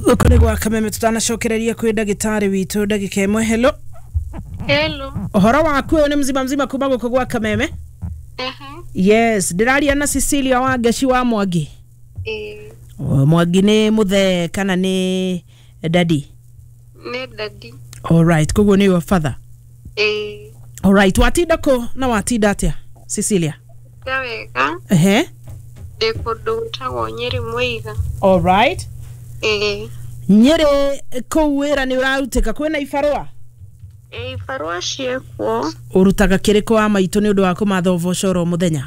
Gũkũ nĩ gwa Kameme, tutanacokereria kwĩ ndagĩtarĩ witũ ndagĩka ĩmwe. Hello. Hello. Ũhoro waku? Ũyũ nĩ mzima mzima kuma gũkũ gwa Kameme. Yes, ndĩraria na Cecilia wa Ngeci wa Mwangi? Ĩĩ. O, Mwangi nĩ mũthee kana nĩ daddy? Nĩ daddy. Alright, koguo nĩ your father? Ĩĩ. Alright, watinda kũ na watinda atĩa, Cecilia? Ta wega. Ehe. Ndĩ kũndũ gwĩtagwo Nyĩrĩ Mũiga. Alright. Ĩĩ. Nyĩrĩ kũu wĩra nĩ ũrarutĩka, kwĩna ibarũa? Ĩĩ, ibarũa ciĩkuo. Ũrutaga kĩrĩkũ wa maitũ nĩ ũndũ wa kũmatha ũboco oro mũthenya?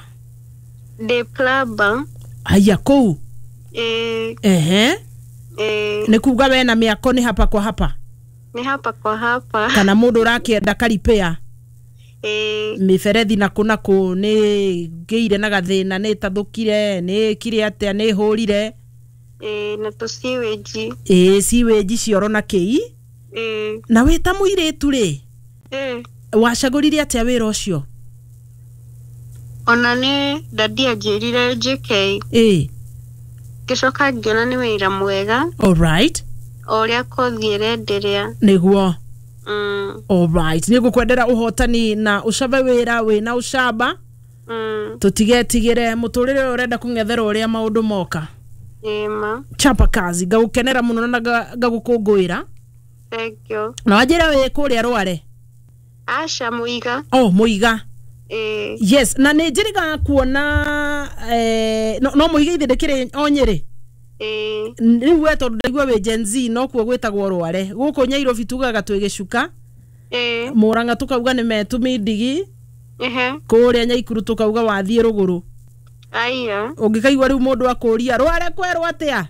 Ndĩ plumber. Haya kũu? Ĩĩ. Ehe. Ĩĩ. Nĩ kuga wena mĩako nĩ hapa kwa hapa? Nĩ hapa kwa hapa. Kana mũndũ ũrakĩenda karipĩa? Ĩĩ. Mĩberethi nakũ nakũ nĩ ngĩire na gathĩna, nĩ ĩtathũkire, nĩ ĩkire atĩa, nĩ ĩhũrire? Ĩĩ, na tũciwĩnji. Ĩĩ, ciwĩnji cioro na kĩi. Ĩĩ. Na wĩ ta mũirĩtu rĩ, Ĩĩ. wacagũrire atĩa wĩra ũcio? Ona nĩ daddy anjĩrire njĩke. Ĩĩ. Ngĩcoka ngĩona nĩ wĩra mwega. Alright. O ũrĩa kothi ĩrenderea. Nĩguo. Alright, nĩ ngũkwendera ũhotani na ũcabe wĩra wĩna ũcamba. Tũtigetigĩre mũtũrĩre ũyũ ũrenda kũng'ethera ũrĩa maũndũ moka. Ĩĩ ma. Chapa kazi, ngagũkenera mũno na ngagũkũngũĩra. Thank you. Na wanjĩra wĩ kũrĩa Rware? Aca, Mũiga. Oh, Mũiga. Ĩĩ. Yes, na nĩ njĩrĩgaga kuona no Mũiga ithe ndĩkĩrĩ o Nyĩrĩ? Ĩĩ. Rĩu we tondũ ndaigua wĩ Gen Z, no kuo gwĩtagwo Rware. Gũkũ Nyairobi tugaga twĩ gĩcuka. Ĩĩ. Mũrang'a tũkauga nĩ metu mindigi. Ehe. Kũrĩa Nyaikuru tũkauga wathiĩ rũgũrũ. Aya. Ũngĩkaigua rĩu mũndũ akũria Rware kwerwo atĩa,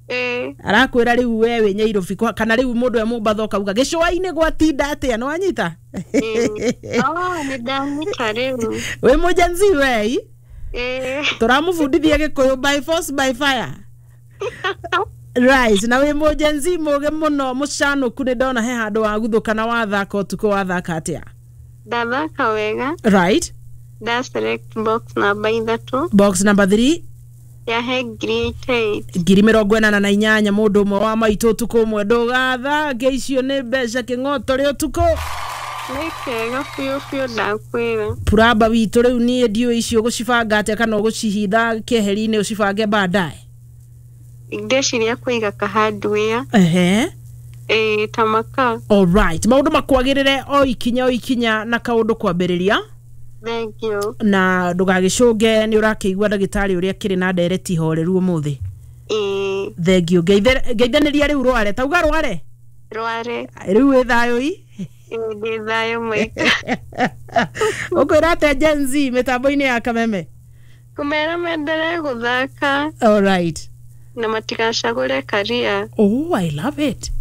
Ĩĩ. arakwĩra rĩu we wĩ Nyairobi, kana rĩu mũndũ e Mombatha ũkauga gĩcũa-inĩ gwatinda atĩa, nĩ wanyita? Ĩĩ. Oh, nĩ ndanyita rĩu. Wĩ mũ Gen Z wei? Ĩĩ. Tũramũbundithia gĩkũyũ by force by fire. Right, na wĩ mũ Gen Z mũgĩ mũno, mũcanũku. Nĩ ndona he handũ waguthũka na wathaka ũtukũ, wathaka atĩa? Ndathaka wega. Right. Nda select box namba 3. Box number 3. Yahe 88,000. 88,000, mũndũ ũmwe wa maitũ, ũtukũ ũmwe ndũgathange, icio nĩ mbeca kĩng'oto rĩ ũtukũ. Nĩ kega biũ biũ, ndakwĩra. Puramba witũ, rĩu niĩ ndiũĩ icio ũgũcibanga atĩa, kana ũgũcihitha keheri-inĩ ũcibange baadaye? Ndeciria kũiga ka hardware. Ehe. Ĩĩ, ta maka. Alright, maũndũ makwagĩrĩre o ikinya o ikinya na kaũndũ kwambĩrĩria. Thank you. Na ndũgagĩcũnge, nĩ ũrakĩigua ndagĩtarĩ ũrĩa kĩrĩ na ndereti horeru ũmũthĩ. Ĩĩ. Thengiũ, ngeithanĩria rĩu Rware, tauga Rware. Rware. Rĩu wĩ thayũ i? Ĩĩ, ndĩ thayũ maitũ. Ũkwĩra atĩa Gen Z mĩtambo-inĩ ya Kameme? Kũmera menderee gũthaka. Alright. Na matigacagũre karia. Oh, I love it.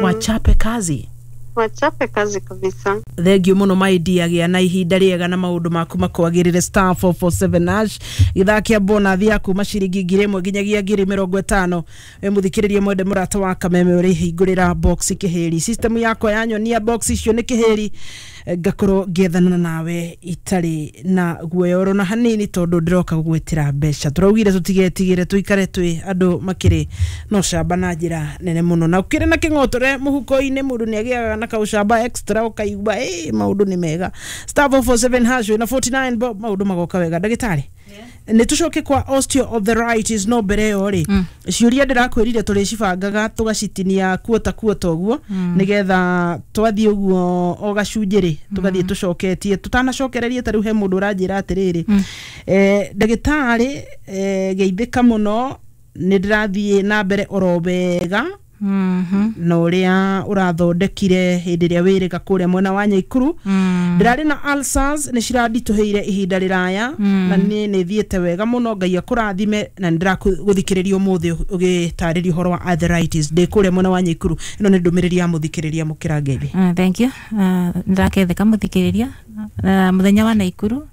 Wachape kazi. Wachape kazi kabisa. Thengiũ mũno maidia, na ihinda rĩega na maũndũ maku makwagĩrĩre. *447#, gĩthaa kĩa bonathi ya kuma ciringi 1,000 nginyagia 50,000. Wĩ mũthikĩrĩrie mwende mũrata wa Kameme, ũrĩhingũrĩra box kĩhĩri, system yakwa yanyonia box icio nĩ kĩhĩri, ngakorwo ngĩethana nawe itarĩ na guoya oro na hanini, tondũ ndĩroka gũgwĩtĩra mbeca. Tũraugire tũtigetigĩre, tũikare twĩ andũ makĩrĩ na ũcamba na njĩra nene mũno, na ũkĩrĩ na kĩng'otore mũhuko-inĩ, mũndũ nĩ agĩaga na kaũcamba extra, ũkaigua ĩ maũndũ nĩ mega. *447# wĩna 49 bob, maũndũ magoka wega. Ndagĩtarĩ, nĩ tũcoke kwa osteoarthritis, no mbere ĩyo rĩ, ciũria ndĩrakwĩrire tũrĩcibangaga tũgacitinia kuota kuota ũguo, nĩgetha twathiĩ ũguo o gacunjĩ rĩ, tũgathiĩ tũcoketie tũtanacokererie. Ta rĩu he mũndũ ũranjĩra atĩrĩrĩ, ndagĩtarĩ, geithĩka mũno, nĩ ndĩrathiĩ na mbere oro wega na ũrĩa ũrathondekire hĩndĩ ĩrĩa wĩrĩga kũrĩa mwena wa Nyaikuru. Ndĩrarĩ na ulcers, nĩ ciranditũhĩire ihinda rĩraya, na niĩ nĩ thiĩte wega mũno, Ngai akũrathime, na nĩ ndĩragũthikĩrĩria ũmũthĩ ũgĩtarĩria ũhoro wa arthritis, ndĩ kũrĩa mwena wa Nyaikuru. Ĩno nĩ ndũmĩrĩri ya mũthikĩrĩria mũkĩra ngeithi. Thank you. Ndaketheka muthikiriria. Muthenya wa Naikuru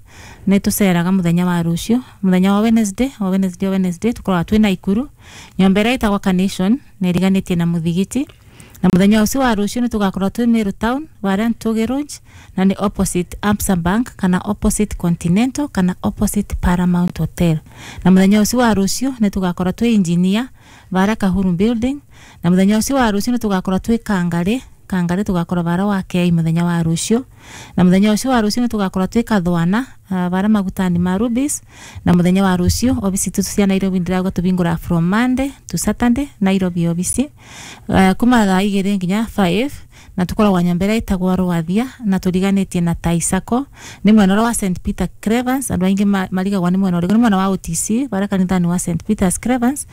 nĩ tũceraga mũthenya wa rũciũ, mũthenya wa Wednesday, o Wednesday, o Wednesday tũkoragwo twĩ Naikuru, nyũmba ĩrĩa ĩtagwo Carnation na ĩriganĩtie na mũthigiti. Na mũthenya ũcio wa rũciũ nĩ tũgakorwo twĩ Meru Town, Warren Tuge Road, na nĩ opposite Absa Bank kana opposite Continental kana opposite Paramount Hotel. Na mũthenya ũcio wa rũciũ nĩ tũgakorwo twĩ Engineer. bara Kahuru building. Na muthenya ucio wa rucio nitugakorwo twi Kangari, Kangari tugakorwo bara wa Kei muthenya wa rucio. Na muthenya ucio wa rucio nitugakorwo twi Kathwana, bara magutani ma Rubis. Na muthenya wa rucio obisi tu cia Nairobi ndirauga tubingura from Monday to Saturday Nairobi obisi, kuma thaa igiri nginya 5. Na tukoragwo nyambere itagwa Rwathia na turiganitie na Taisako, ni mwena wa St Peter Cravens. Andu aingi marigagwa ni mwena uriku, ni mwena wa OTC bara kanithani wa St Peter's Cravens,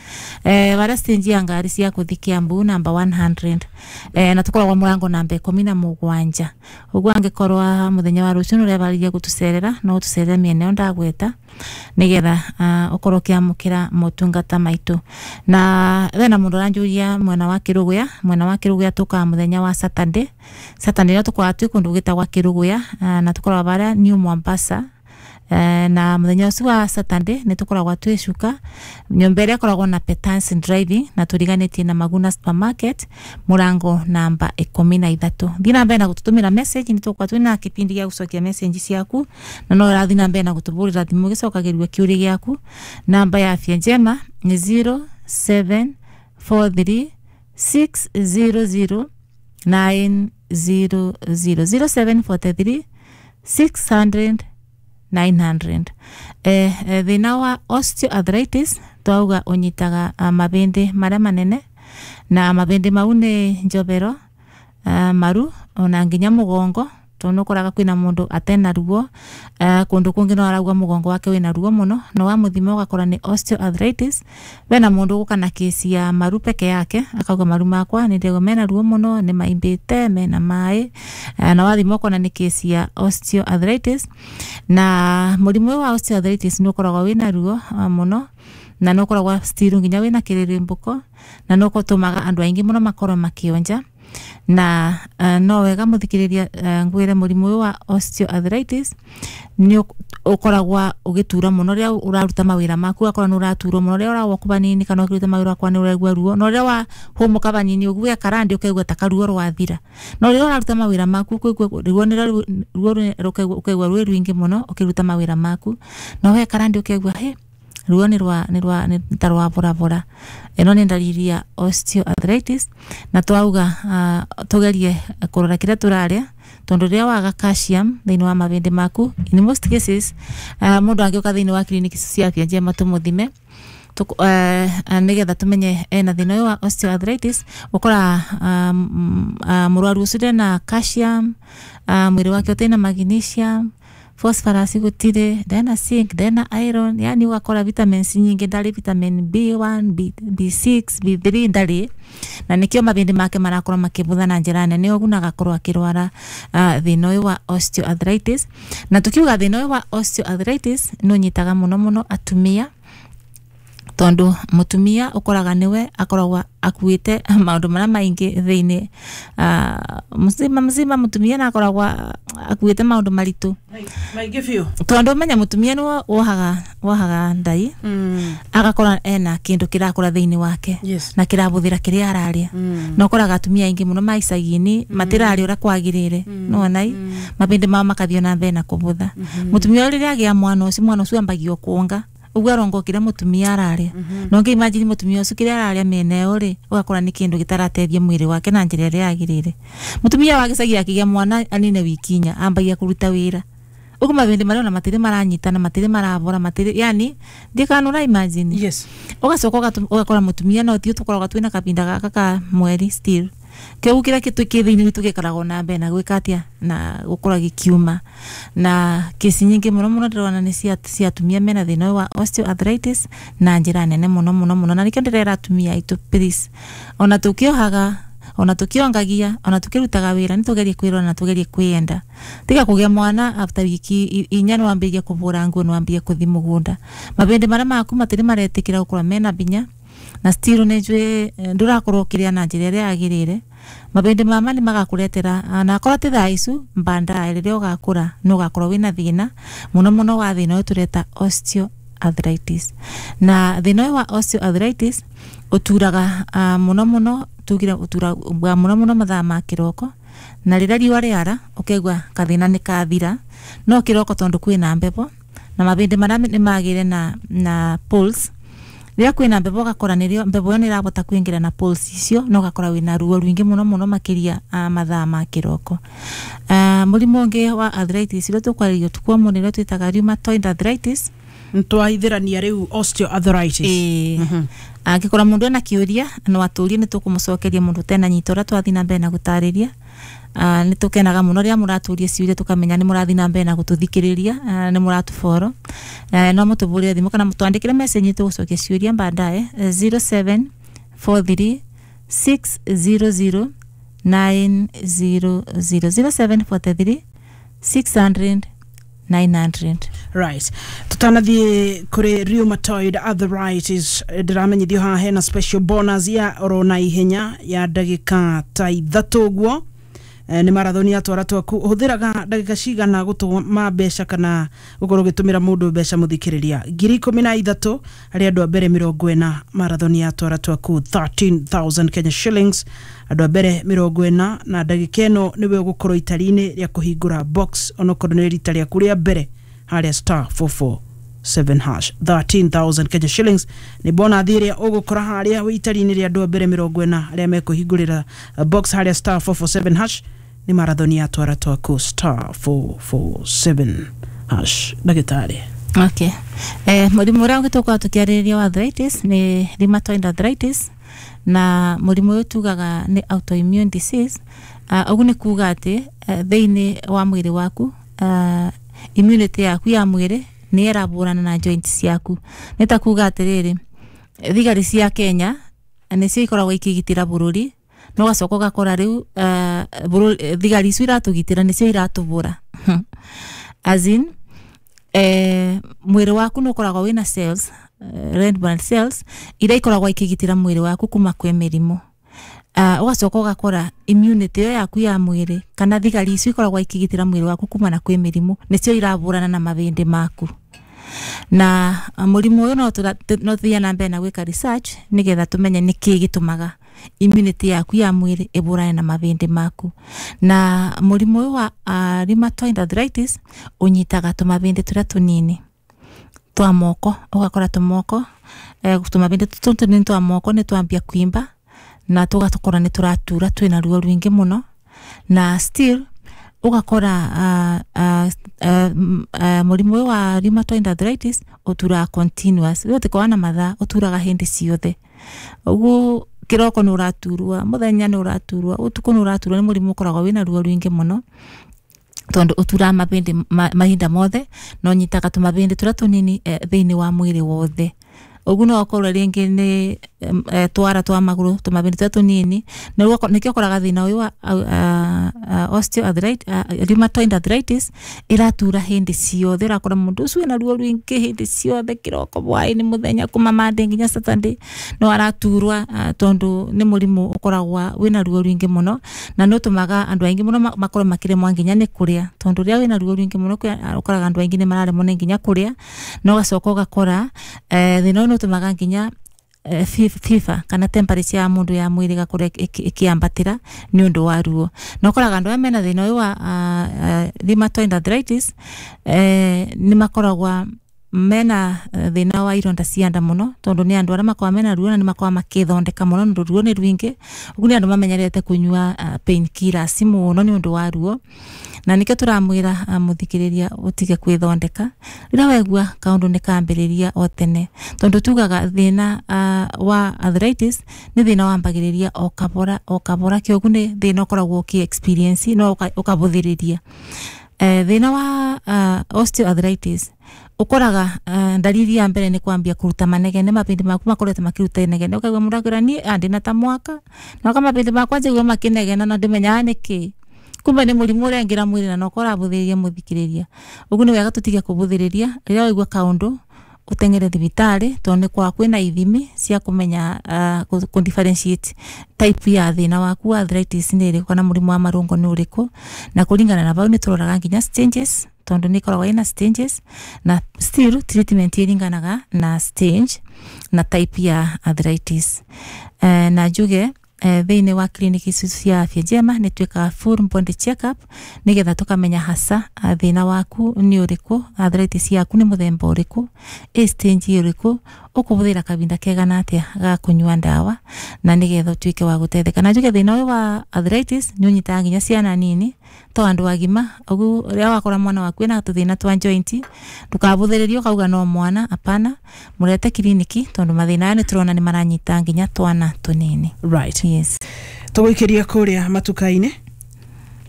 bara stage ya ngari cia kuthi Kiambu namba 100, na tukoragwo murango namba 17. Uguo angikorwa muthenya wa rucio nurebariria gutucerera no utucerere miena ĩyo ndagweta nigetha ukorwo ukiamukira motungata maitu. Na wena mundu aranjuria mwena wa Kiruguya, mwena wa Kiruguya tukaa muthenya wa Saturday. Saturday no tukoragwo twi kundu gwitagwa Kiruguya, na tukoragwo baria New Mombasa. Na muthenya ucio wa Saturday ni tukoragwo twi cuka nyumba ĩrĩa ĩkoragwo na Petance Driving na turiganĩtie na Maguna Supermarket murango namba 13. Thiĩ na mbere na gututumĩra message, ni tũgũkorwo twĩna kĩbindi gĩa gũcokia message ciaku, na no ũrathiĩ na mbere na gũtũbũrĩra thimũ gĩcokagĩrio kĩũria gĩaku. Namba ya Afya Njema ni 0743 600 900, 0743 600 900. Thina wa osteoarthritis twauga unyitaga mabindi maria manene, na mabindi mau ni njobero, maru ona nginya mugongo, tondu nukoraga kwina mundu atena ruo, kundu kungi no arauga mugongo wake wina ruo muno, no wamuthima ugakora ni osteoarthritis. Bena mundu guka na kesi ya maru peke yake akauga maru makwa ni ndego mena ruo muno, ni maimbite mena mai, na wathima ukona ni kesi ya osteoarthritis. Na murimu wa osteoarthritis ni ukoragwo wina ruo muno, na no ukoragwo still nginya wina kiririmbuko, na no gutumaga andu aingi muno makorwo makionja. Na no wega muthikiriria, ngwire murimu uyu wa osteoarthritis ni ukoragwa ugitura muno riria uraruta mawira maku, akorwo ni uraturwo muno riria urawalk banini kana ukiruta mawira kwa ni uraigua ruo, no riria wa humuka banini uguo karandi ukaigua ta karuo rwathira, no riria uraruta mawira maku ukaigua ruo ni ruo ukaigua ruo rwingi muno ukiruta mawira maku, no we karandi ukaigua he ruo ni rwa ni rwa ni ta rwa borabora. Eno ni ndariri ya osteoarthritis. Na twauga tugerie kurora kiria turaria, tondu riria waga calcium thiini wa mabindi maku, in most cases mundu angiuka thiini wa clinic cia Afya Njema tumuthime nigetha tumenye ena thina uyu wa osteoarthritis, ukora murwaru ucio ndena calcium, mwiri wake utina magnesium, phosphorus gutire, ndena zinc, ndena iron, yani ugakora vitamins nyingi ndari, vitamin B1, B6, B3 ndari, na nikio mabindi make marakorwo makibutha na njira nene ugu na agakorwo akirwara thina uyu wa osteoarthritis. Na tukiuga thina uyu wa osteoarthritis ni unyitaga muno muno atumia, tondu mutumia ukoraga niwe akoragwa akuite maundu maria maingi thiini, muzima muzima mutumia na akoragwa akuite maundu maritu maingi biu, tondu menya mutumia niwe wohaga ndai, agakora ena kindu kirakura thiini wake, yes, na kirabuthira kiria araria. Na ukoraga atumia aingi muno ma icagi-ini matiraria uria kwagirire, nona mabindi mao makathio na mbere na kubutha. Mutumia riria agia mwana ucio, mwana ucio ambagia kuonga uguo arongo kiria mutumia araria. No ngi imagine mutumia ucio kiria araria mene ĩyo ri ugakora ni kindu gitarateithia mwiri wake na njira ĩrĩa yagirire. Mutumia wa gĩcagi akĩgĩa mwana anine wiki inya ambagia kuruta wira, uguo mabindi maria ona matiri maranyitana, matiri marabora, matiri yani ndikanura imagine. Yes. Ugacoka ugakora mutumia no tio tukoragwo twina kabinda gaka ka mweri still kiu kiria kitu ki thiini witu gikoragwo na mbere na gwika atia na gukora gikiuma. Na kesi nyingi muno muno ndirona ni cia atumia mena thina wa osteoarthritis na njira nene muno muno muno, na nikio ndirera atumia aitu please, ona tukiohaga, ona tukiongagia, ona tukirutaga wira, ni tugerie kwirora na tugerie kwiyenda. Tiga kugia mwana after wiki inya ni wambirie kubura nguo, ni wambirie kuthi mugunda, mabindi maria maku matiri maretikira gukorwo mena binya, na still ni njui ndurakorwo ukiria na njira ĩrĩa yagĩrĩire, mabindi mama ni magakuretera, na akorwo ti thaa icu mbandae riria ugakura ni ugakorwo wina thina muno muno wa thina uyu tureta osteoarthritis. Na thina uyu wa osteoarthritis uturaga muno muno, tugire uturaga muno muno mathaa ma kiroko, na riria riua riara ukaigua kathina ni kathira, no kiroko tondu kwina mbevo na mabindi maria ni magire na pulse, Rĩrĩa kwĩna mbebo ũgakora nĩrĩo mbebo ĩyo nĩ ĩrabota kũingĩra na pulse icio na ũgakora wĩna ruo rũingĩ mũno mũno makĩria mathaa ma kĩroko. Mũrimũ ũngĩ wa arthritis ũrĩa tũkwarĩria ũtukũ wa ũmũthĩ nĩrĩo twĩtaga rheumatoid arthritis. Ntwahithĩrania rĩu osteoarthritis. Ĩĩ, angĩkorwo mũndũ ena kĩũria no atũrie, nĩ tũkũmũcokeria mũndũ ũtena nyita ũrĩa twathiĩ na mbere na gũtarĩria. Nĩ tũkenaga mũno rĩrĩa mũratũria ciũria, tũkamenya nĩ mũrathiĩ na mbere na gũtũthikĩrĩria, nĩ mũratũboro. No mũtũbũrĩre thimũ kana twandĩkĩre message, tũgũcokia ciũria baadaye, 0743 600 900, 0743 600 900. Right, tutanathiĩ kũrĩ rheumatoid arthritis, ndĩramenyithio haha hena special bonus ya oro na ihenya ya ndagĩka ta 3 ũguo. Nĩ marathoni ya twara twaku. Ũhũthĩraga ndagĩka cigana gũtũma mbeca kana gũkorwo ũgĩtũmĩra mũndũ mbeca? Mũthikĩrĩria, 13,000 harĩ andũ a mbere 40, marathoni ya twara twaku, 13,000 Kenya shillings, andũ a mbere 40, na ndagĩka ĩno nĩwe ũgũkorwo itari-inĩ rĩa kũhingũra box onokorwo nĩ rita rĩaku rĩa mbere harĩa star 447 hash. 13,000 Kenya shillings nĩ bonathi ĩrĩa ũgũkora harĩa wĩ itari-inĩ rĩa andũ a mbere 40 arĩa mekũhingũrĩra box harĩa star 447 hash. Nĩ marathoni ya twara twaku, star 447 hash. Ndagĩtarĩ. Okay. Mũrimũ ũrĩa ũngĩ tũkoragwo tũkĩarĩrĩria wa arthritis nĩ rheumatoid arthritis, na mũrimũ ũyũ tugaga nĩ autoimmune disease. Ũguo nĩ kuga atĩ thĩinĩ wa mwĩrĩ waku, immunity yaku ya mwĩrĩ nĩ ĩrabũrana na joints ciaku. Nĩ ta kuga atĩrĩrĩ, thigari cia Kenya nĩcio ikoragwo ikĩgitĩra bũrũri, no ũgacoka ũgakora rĩu thigari icio iratũgitĩra nĩcio iratũbũra. As in, mwĩrĩ waku nĩ ũkoragwo wĩna cells, red blood cells iria ikoragwo ikĩgitĩra mwĩrĩ waku kuma kwĩ mĩrimũ. Ũgacoka ũgakora immunity ĩyo yaku ya mwĩrĩ kana thigari icio ikoragwo ikĩgitĩra mwĩrĩ waku kumana kwĩ mĩrimũ nĩcio irabũrana na mabĩndĩ maku. Na mũrimũ ũyũ no tũthiĩ na mbere na gwĩka research nĩgetha tũmenye nĩkĩĩ gĩtũmaga immunity yaku ya mwĩrĩ ĩbũrane na mabĩndĩ maku. Na mũrimũ ũyũ wa rheumatoid arthritis ũnyitaga tũmabĩndĩ tũrĩa tũnini twa moko, ũgakora tũmoko, tũmabĩndĩ tũtũ tũnini twa moko nĩ twambia kuimba na tũgatũkora nĩ tũratura, twĩna ruo rũingĩ mũno. Na still ũgakora mũrimũ ũyũ wa rheumatoid arthritis ũturaga continuous, rĩu ũtikoragwo na mathaa, ũturaga hĩndĩ ciothe. Ũguo kĩroko nĩ ũraturwa, mũthenya nĩ ũraturwa, ũtukũ nĩ ũraturwa. Nĩ mũrimũ ũkoragwo wĩna ruo rũingĩ mũno tondũ ũturaga mabĩndĩ mahinda mothe na ũnyitaga tũmabĩndĩ tũrĩa tũnini thĩinĩ wa mwĩrĩ wothe. Ũguo no ũkorwo rĩngĩ nĩ twara twa magũrũ, tũmabĩndĩ tũrĩa tũnini. Nĩkĩo ũkoraga thĩna ũyũ wa osteoarthritis, rheumatoid arthritis ĩratura hĩndĩ ciothe. Ũrakora mũndũ ũcio ena ruo rũingĩ hĩndĩ ciothe, kĩroko, hwaĩ-inĩ, mũthenya, kuma Monday nginya Saturday no araturwa, tondũ nĩ mũrimũ ũkoragwo wĩna ruo rũingĩ mũno na nĩ ũtũmaga andũ aingĩ mũno makorwo makĩremwo nginya nĩ kũrĩa, tondũ rĩrĩa wĩna ruo rũingĩ mũno ũkoraga andũ aingĩ nĩ mararemwo nĩ nginya kũrĩa. Na ũgacoka ũgakora thĩna ũyũ nĩ ũtũmaga nginya fever kana temperature ya mũndũ ya mwĩrĩ ĩgakorwo ĩkĩambatĩra nĩ ũndũ wa ruo. Na ũkoraga andũ aya mena thĩna ũyũ wa rheumatoid arthritis nĩ makoragwo mena thĩna wa ironda cia nda mũno, tondũ nĩ andũ arĩa makoragwo mena ruo na nĩ makoragwo makĩthondeka mũno nĩ ũndũ ruo nĩ rũingĩ. Ũguo nĩ andũ mamenyerete kũnyua pain killers mũno nĩ ũndũ wa ruo. Na nĩkĩo tũramwĩra mũthikĩrĩria ũtige kwĩthondeka rĩrĩa waigua kaũndũ nĩ kambĩrĩria o tene, tondũ tugaga thĩna wa arthritis nĩ thĩna wambagĩrĩria o kabora o kabora, kĩoguo nĩ thĩna ũkoragwo ũkĩ experience no ũkabũthĩrĩria. Thĩna wa osteoarthritis ũkoraga ndariri ya mbere nĩ kwambia kũruta manegene, mabĩndĩ maku makoretwo makĩruta inegene. Ũkaigua mũndũ akwĩra, "Niĩ ndĩna ta mwaka na mabĩndĩ makwa njigua makĩnegena na ndĩmenyaga nĩkĩ." Kumbe nĩ mũrimũ ũrengera mwĩrĩ na no ũrabuthĩrĩria. Mũthikĩrĩria, ũguo nĩ wega tũtige kũbũthĩrĩria. Rĩrĩa waigua kaũndũ ũteng'ere thibitarĩ, tondũ nĩ kwa kwĩna ithimi cia kũmenya kũ differentiate type ya thĩna waku wa arthritis nĩ ĩrĩkũ kana mũrimũ wa marũngo nĩ ũrĩkũ. Na kũringana na bau nĩ tũroraga nginya stages, tondũ nĩ ĩkoragwo ĩna stages, na still treatment ĩringanaga na stage na type ya arthritis. Na njuge thĩinĩ wa clinic ici cia Afya Njema nĩ twĩkaga full body check up nĩgetha tũkamenya hasa thĩna waku nĩ ũrĩkũ, arthritis yaku nĩ mũthemba ũrĩkũ, ĩ stage ũrĩkũ. Ukubuthira kavinda kegana atia ga kunyua ndawa na nigetha utuike wa gutetheka. Na njuge thina uyu wa arthritis ni unyitaga nginya ciana nini to andu agima. Ugu ria wakora mwana waku ena tuthina twa joint, ndukabuthiririe ukauga no mwana, apana, murete kiriniki tondu mathina aya ni turona ni maranyita nginya twana tunini. Right. Yes. Tũgũikĩria kũrĩa matuka-inĩ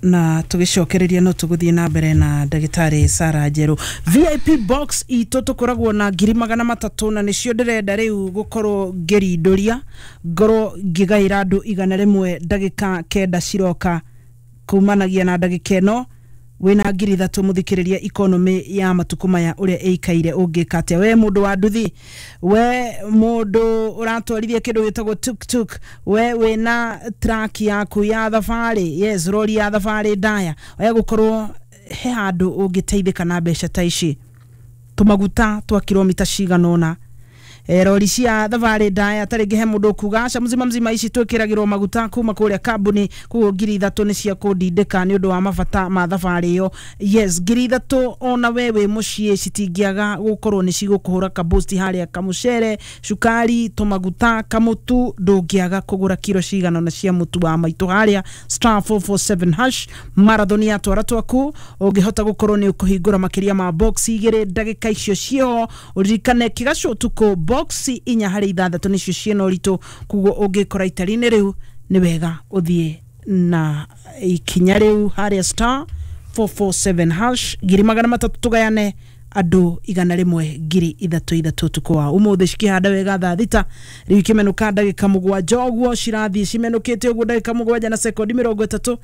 na tũgĩcokereria no tũgũthiĩ na mbere na ndagĩtarĩ Sarah Njerũ. VIP box itũ tũkoragwo na 300,000 na nĩcio ndĩrenda rĩu gũkorwo ngĩrindũria, ngorwo ngĩgaĩra andũ 100 ndagĩka 9 ciroka kumanagia na ndagĩka ĩno wĩna 3,000 mũthikĩrĩria economy ya matukũ maya ũrĩa ĩikaire ũngĩka atĩa. We mũndũ wa nduthi, we mũndũ ũratwarithia kĩndũ gĩtagwo tuk-tuk, we wĩna truck yaku ya thabarĩ, yes, rori ya thabarĩ ndaya, we gũkorwo he handũ ũngĩteithĩka na mbeca ta ici. Tũmaguta twa kilomita cigana ũna, rori cia thabarĩ ndaya, ta rĩngĩ he mũndũ ũkuga aca mzima mzima ici twĩkĩragĩrwo maguta kuma kũrĩa kambuni, koguo 3,000 nĩ cia kũndindĩka nĩ ũndũ wa mabata ma thabarĩ ĩyo. Yes, 3,000 ona we wĩ mũciĩ citingĩaga gũkorwo nĩ cigũkũhũra kaboost harĩa, kamũcere, cukari, tũmaguta, kamũtu, ndũngĩaga kũgũra kiro cigana ũna cia mũtu wa maitũ harĩa *447# marathon ya twara twaku. Ũngĩhota gũkorwo nĩ ũkũhingũra makĩria ma box 2 ndagĩka icio ciĩho, ũririkane kĩgacũ ũtukũ box 4 harĩ 6 nĩcio ciĩna ũritũ, koguo ũngĩkora itari-inĩ rĩu nĩ wega ũthiĩ na ikinya rĩu harĩa *447# 300,000 tũgayane andũ 100 3,000 ũtukũ wa ũmũthĩ. Cikĩhanda wega thaa 6 rĩu ikĩmenũka ndagĩka 7 ũguo cirathiĩ cimenũkĩte ũguo ndagĩka 7 na sekondi 30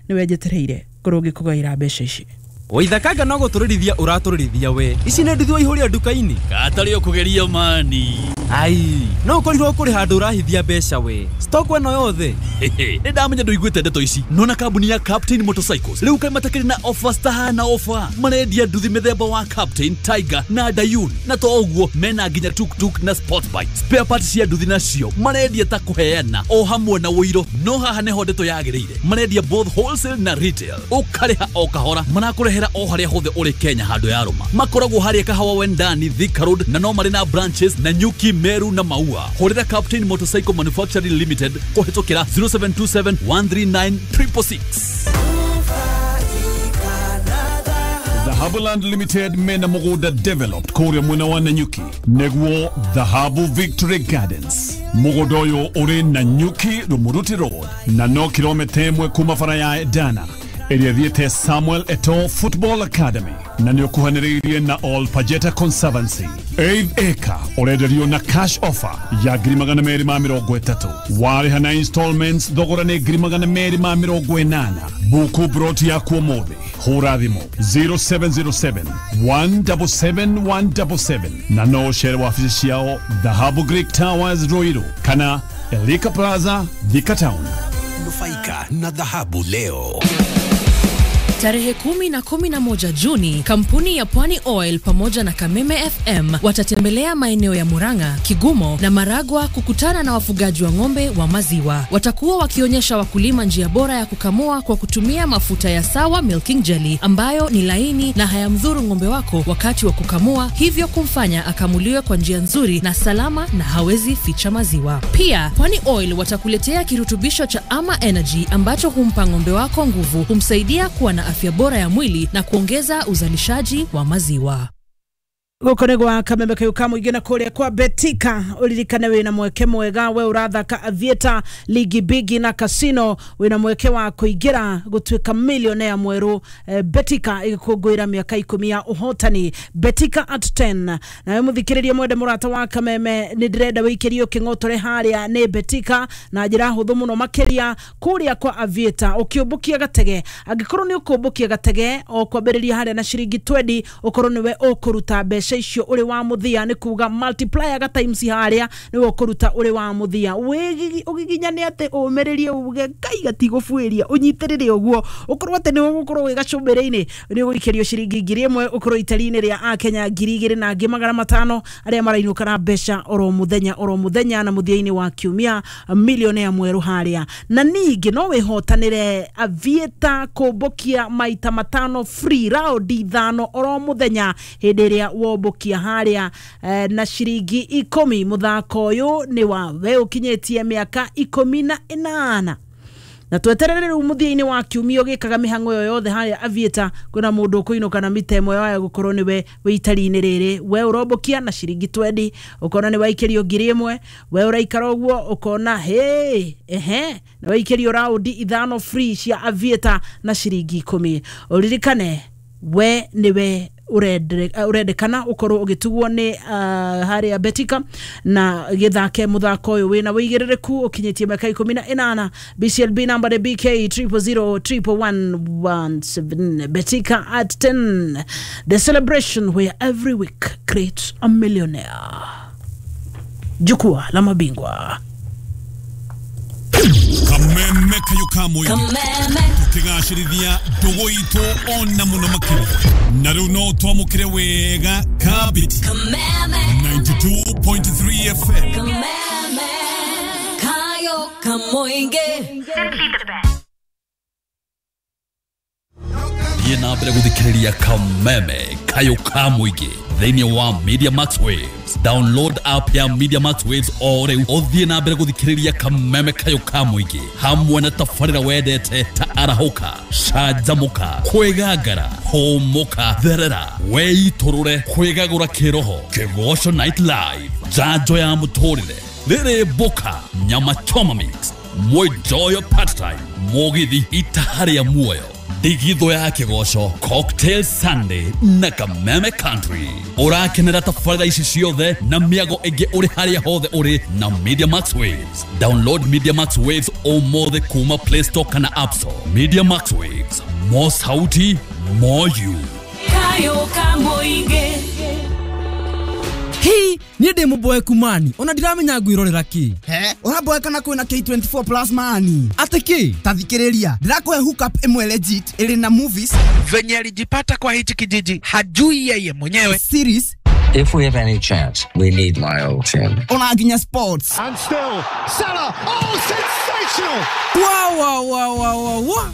nĩwe njetereire ngorwo ngĩkũgaĩra mbeca ici. Waithakanga no gũtũrĩrithia ũratũrĩrithia we. Ici nĩ nduthi waihũria nduka-inĩ. Katarĩ ũkũgeria mani. Ai, no ũkorirwo kũrĩ handũ ũrahithia mbeca we. Stock ĩno yothe. Nĩ ndamenya ndũiguĩte ndeto ici. Nona kambuni ya Captain Motorcycles rĩu kaĩ matakĩrĩ na offers tahana offer. Marendia nduthi mĩthemba wa Captain, Tiger na Dayun. Na to ũguo mena nginya tuk-tuk na sport bike. Spare parts cia nduthi nacio marendia ta kũheana o hamwe na ũiro. No haha nĩho ndeto yagĩrĩire. Marendia both wholesale na retail. Ũkarĩha o kahora. Marakũrehera o harĩa hothe ũrĩ Kenya handũ ya rũma. Makoragwo harĩa Kahawa Wendani, Thika Road, na no marĩ na branches na Nyuki, Meru na Maua. Hũrĩra Captain Motorcycle Manufacturing Limited kũhĩtũkĩra 0727 139 666. Dhahabuland Limited mena mũgũnda developed kũrĩa mwena wa Nanyuki nĩguo Dhahabu Victory Gardens. Mũgũnda ũyũ ũrĩ Nanyuki Rumuruti Road na no kilomita 1 kuma bara ya Edana ĩrĩa ĩthiĩte Samuel Eto'o Football Academy na nĩ ũkuhanĩrĩirie na All Pajeta Conservancy. 8 acre ũrenderio na cash offer ya 230,000. Warĩha na installments thogora nĩ 280,000. Buku broti yaku ũmũthĩ, hũra thimũ 0707 177 177 na no ũcere wabici ciao Dhahabu Greek Towers Ruiru kana Elika Plaza Thika Town. Nufaika na dhahabu leo. Tarehe 10 na 11 Juni, kampuni ya Pwani Oil pamoja na Kameme FM watatembelea maeneo ya Murang'a, Kigumo na Maragwa kukutana na wafugaji wa ng'ombe wa maziwa. Watakuwa wakionyesha wakulima njia bora ya kukamua kwa kutumia mafuta ya Sawa Milking Jelly ambayo ni laini na hayamdhuru ng'ombe wako wakati wa kukamua, hivyo kumfanya akamuliwe kwa njia nzuri na salama na hawezi ficha maziwa. Pia Pwani Oil watakuletea kirutubisho cha Ama Energy ambacho humpa ng'ombe wako nguvu, humsaidia kuwa na afya bora ya mwili na kuongeza uzalishaji wa maziwa. Gũkũ nĩ gwa Kameme kayũ ka mũingĩ na kũrĩa kwa Betika. Ũririkane wĩna mweke mwega, we ũrathaka Aviator, Ligi Bigi na Casino, wĩna mweke wa kũingĩra gũtuĩka millionaire mwerũ. Betika ĩgĩkũngũĩra mĩaka 10 ya ũhotani. Betika at 10. Nawe mũthikĩrĩria mwende mũrata wa Kameme, nĩ ndĩrenda wĩikĩrio kĩng'otore harĩa nĩ Betika na njĩra hũthũ mũno makĩria kũrĩa kwa Aviator. Ũkĩũmbũkia gatege, angĩkorwo nĩ ũkũmbũkia gatege o kwambĩrĩria harĩa na ciringi 20, ũkorwo nĩwe ũkũruta mbeca icio ũrĩ wa mũthia, nĩ kuga multiplier ga times harĩa nĩwe ũkũruta ũrĩ wa mũthia. Ũgiginyane atĩ ũmĩrĩrie uge kai gatigũbuĩria, ũnyitĩrĩre ũguo ũkorwo atĩ nĩwe ũgũkorwo wĩ gacũmbĩrĩ-inĩ, nĩ ũgũikĩrio ciringi 1,000, ũkorwo itari-inĩ rĩa akenya 2,000 na angĩ 500 arĩa marainũka na mbeca oro mũthenya oro mũthenya, na mũthia-inĩ wa kiumia millionaire mwerũ harĩa. Na ningĩ no wĩhotanĩre Aviator kũmbũkia maita 5 free round 5 oro mũthenya hĩndĩ ĩrĩa ũkombũkia harĩa na ciringi 10. Mũthako ũyũ nĩ wa we ũkinyĩtie mĩaka 18 na tweterere rĩu mũthia-inĩ wa kiumia ũgĩkaga mĩhang'o ĩyo yothe harĩa Aviator kwĩna mũndũ ũkũinũka na mita ĩmwe waya gũkorwo nĩwe wĩ itari-inĩ rĩrĩ. We ũrombũkia na ciringi 20 ũkona nĩ waikĩrio 1000. We ũraikara ũguo ũkona hĩ ehe nĩ waikĩrio raundi 5 free cia Aviator na ciringi 10. Ũririkane we nĩwe urendekana ukorwo ugitugwo ni haria Betika na githake muthako uyu wina wigiririku ukinyitie miaka 18. BCLB number ni BK 0001117. Betika at 10, the celebration where every week creates a millionaire. Jukwaa la mabingwa. Kameme kayo kamwe tukigacirithia ndugu itu ona muno makiria na riu no twamukire wega kabiti 92.3 FM. Kameme kayo kamoinge. Simply the best. Thiĩ na mbere gũthikĩrĩria Kameme kayo ka mũingĩ thĩinĩ wa Media Max Waves. Download app ya Media Max Waves o rĩu ũthiĩ na mbere gũthikĩrĩria Kameme kayo ka mũingĩ hamwe na tabarĩra wendete ta arahũka, canjamũka, kwĩgangara, hũmũka, therera, weitũrũre, kwĩgagũra kĩroho, Kĩgoco Night Live, njanjo ya mũtũrĩre, rĩrĩ mboka, nyama choma mix, mwenjoyo part time, mũgithi itaha rĩa muoyo, ndigitho ya kĩgoco, Cocktail Sunday na Kameme Country. Ũrakenera tabarĩra ici ciothe na mĩago ĩngĩ ũrĩ harĩa hothe ũrĩ na Media Max Waves. Download Media Max Waves ũmũthĩ kuma Play Store kana App Store. Media Max Waves, more sauti, more you. Kayo kamoinge. Hii niĩ ndĩ mũboeku mani ona ndiramenya ngwĩrorera kĩ. He ũraboeka na kwĩna K24 plus mani atĩ kĩ? Ta thikĩrĩria, ndĩrakũhe hookup ĩmwe legit ĩrĩ na movies venye alijipata kwa hichi kijiji hajui yeye mwenyewe, series. If we have any chance, we need my old team. Ona nginya sports. And still Salah, oh sensational. Wow wow wow wow wow.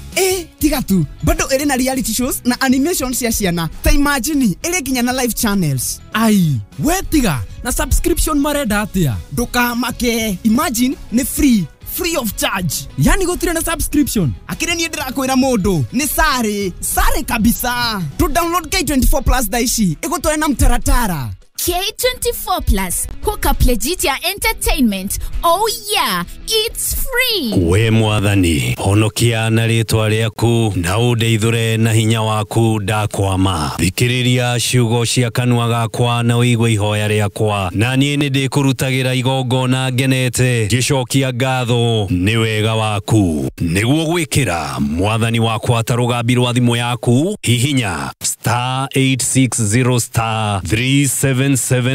Tiga tu bado ĩrĩ na reality shows na animation cia ciana. Ta imagine ĩrĩ nginya na live channels. Ai we tiga na subscription marenda atia? Ndukamake, imagine ni free, free of charge. Yani gutire na subscription. Akire nie ndirakwira mundu ni sare sare kabisa. To download K24 plus daishi igutware na mtaratara. K24 Plus, hook up legit ya entertainment. Oh yeah, it's free. We mwathani, honokia na rĩtwa rĩaku na ũndeithũre na hinya waku ndakwama. Thikĩrĩria ciugo cia kanua gakwa na ũigue ihoya rĩakwa, na niĩ nĩndĩkũrutagĩra igongona ngenete ngĩcokia ngatho nĩ wega waku. Nĩguo gwĩkĩra mwathani wakwa ta rũgambi rwa thimũ yaku, hihinya star 860 star 377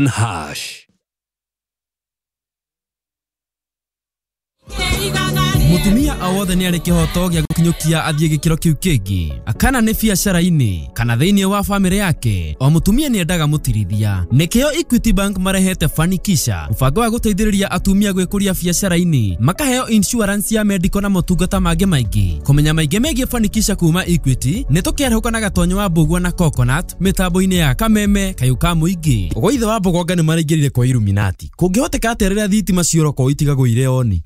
hash. Mutumia o wothe nĩ arĩ kĩhoto gĩa gũkinyũkia athiĩ gĩkĩro kĩu kĩngĩ, kana nĩ biacara-inĩ kana thĩinĩ wa bamĩrĩ yake. O mũtumia nĩ endaga mũtirithia. Nĩkĩo Equity Bank marehete Fanikisha, mũbango wa gũteithĩrĩria atumia gwĩkũria biacara-inĩ, makaheo insurance ya medical na motungata mangĩ maingĩ. Kũmenya maingĩ megiĩ Fanikisha kuma Equity nĩ tũkĩarahũka na Gatonyo wa Mbũgua na Coconut mĩtambo-inĩ ya Kameme kayũ ka mũingĩ. Ũgwo ithe wa Mbũgonga nĩ maraingĩrire kwa Illuminati. Kũngĩhoteka atĩa rĩrĩa thitima ciorokwo itigagũire oni?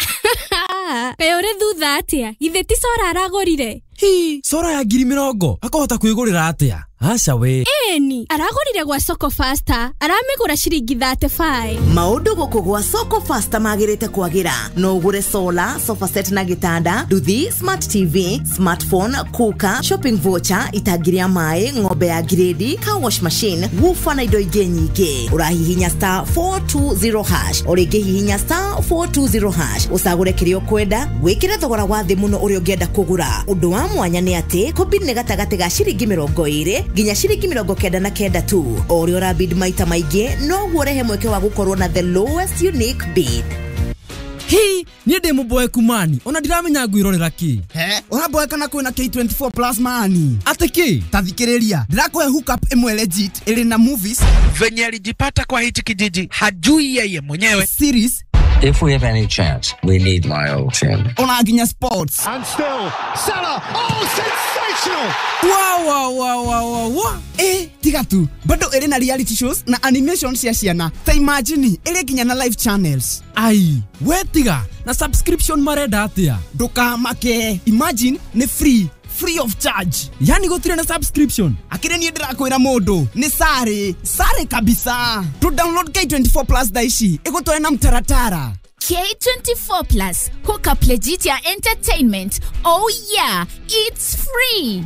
Kaĩ ũrĩ thutha atĩa? Githĩ ti Sora aragũrire? Hi, Sora ya 20,000 akahota kwĩgũrĩra atĩa? Aca we. Ĩni, aragũrire gwa Soko Faster, aramĩgũra ciringi 35. Maũndũ gũkũ gwa Soko Faster magĩrĩte kwagĩra. No ũgũre solar, sofa set na gĩtanda, nduthi, smart TV, smartphone, cooker, shopping voucher, itangi rĩa maĩ, ng'ombe ya grade, car wash machine, woofer na indo ingĩ nyingĩ. Ũrahihinya star 420 hash, o rĩngĩ hihinya star 420 hash, ũcagũre kĩrĩa ũkwenda, wĩkĩre thogora wa thĩ mũno ũrĩa ũngĩenda kũgũra. Ũndũ wa mwanya nĩ atĩ kũbid nĩ gatagatĩ ga ciringi 20 nginya ciringi 99 tu. O ũrĩa ũrabid maita maingĩ noguo ũrehe mweke wa gũkorwo na the lowest unique bid. Hi, niĩ ndĩ mũboeku mani ona ndiramenya ngwĩrorera kĩ. He ũraboeka na kwĩna K24 plus mani atĩ kĩ? Ta thikĩrĩria, ndĩrakũhe hookup ĩmwe legit ĩrĩ na movies venye alijipata kwa hichi kijiji hajui yeye mwenyewe, series. If we have any chance, we need my old team. Ona nginya sports. And still Salah, oh sensational. Sensational! Wa wa wa wa wa wa. Tiga tu bado ĩrĩ na reality shows na animation cia ciana. Ta imagine ĩrĩ nginya na live channels. Ai, we tiga na subscription marenda atia? Ndũkamake, imagine nĩ free, free of charge. Yani gũtirĩ na subscription? Akĩrĩ niĩ ndĩrakwĩra mũndũ nĩ sare sare kabisa. Tu download K24 Plus thaa ici ĩgũtware na mtaratara. K24 Plus, hook up legit ya entertainment. Oh yeah, it's free.